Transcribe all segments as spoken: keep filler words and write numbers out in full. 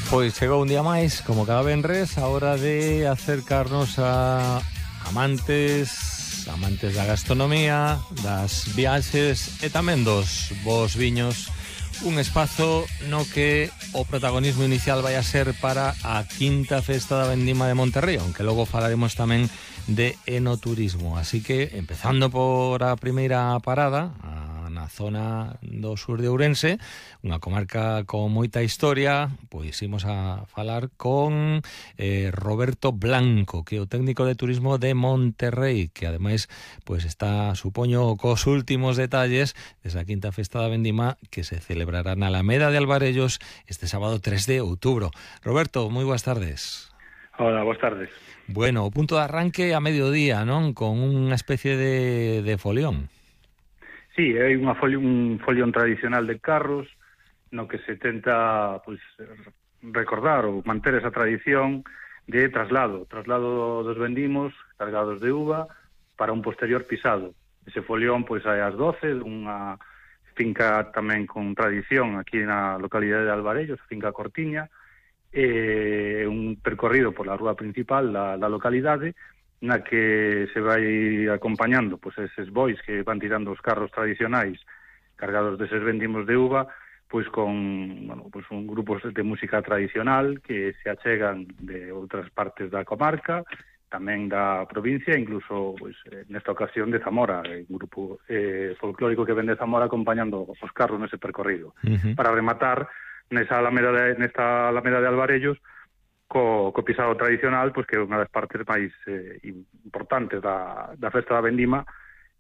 Pois chegou un día máis, como cada venres, a hora de acercarnos a amantes, amantes da gastronomía, das viaxes e tamén dos bons viños. Un espazo no que o protagonismo inicial vai a ser para a quinta festa da Vendima de Monterrei, aunque logo falaremos tamén de enoturismo. Así que, empezando por a primeira parada, a na zona do sur de Ourense, unha comarca con moita historia, pois imos a falar con eh, Roberto Blanco, que é o técnico de turismo de Monterrei, que ademais pois está, supoño, cos últimos detalles desa quinta festa da Vendima que se celebrará na Alameda de Alvarellos este sábado tres de outubro. Roberto, moi boas tardes. Hola, boas tardes. Bueno, o punto de arranque a mediodía, non? Con unha especie de, de folión. Sí, hai unha foli, un folión tradicional de carros no que se tenta pois, recordar ou manter esa tradición de traslado, traslado dos vendimos cargados de uva para un posterior pisado. Ese folión pois hai ás doce, unha finca tamén con tradición aquí na localidade de Alvarellos, finca Cortiña, e un percorrido pola rúa principal da, da localidade, na que se vai acompañando pois eses bois que van tirando os carros tradicionais cargados deses vendimos de uva, pois con, bueno, pois un grupos de música tradicional que se achegan de outras partes da comarca, tamén da provincia, incluso pois nesta ocasión de Zamora, un grupo eh, folclórico que ven de Zamora acompañando os carros nese percorrido. Uh-huh. Para rematar nesa alameda de, nesta alameda de Alvarellos co, co pisado tradicional, pois que é unha das partes máis eh, importantes da, da festa da Vendima,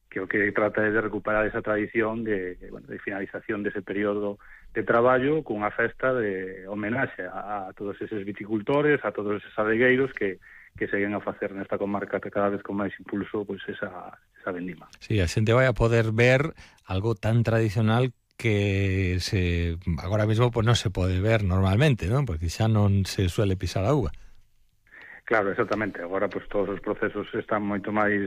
que o que trata é de recuperar esa tradición de, bueno, de finalización dese período de traballo cunha festa de homenaxe a, a todos eses viticultores, a todos eses adegueiros que, que seguen a facer nesta comarca que cada vez con máis impulso pois esa, esa Vendima. Sí, a xente vai a poder ver algo tan tradicional que se agora mesmo pues, non se pode ver normalmente, non? Porque xa non se suele pisar a uva. Claro, exactamente. Agora pues, todos os procesos están moito máis